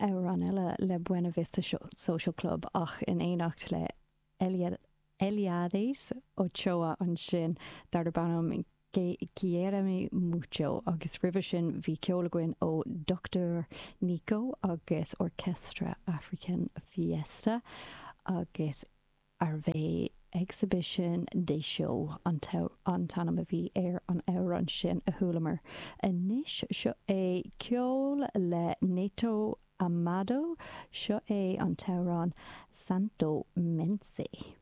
amhrán eile le Buena Vista Social Club ach in éineacht le Eliades Ochoa ansin, darb ainm Quiéreme Mucho agus roimhe sin bhí ceol againn ó Doctor Nico agus Orchestra African Fiesta agus arbh é Exhibition des Show an t-ainm a bhí ar an amhrán sin a chualamar. Anois seo é ceol le Neto Amado, seo é an t-amhrán Santo Mense.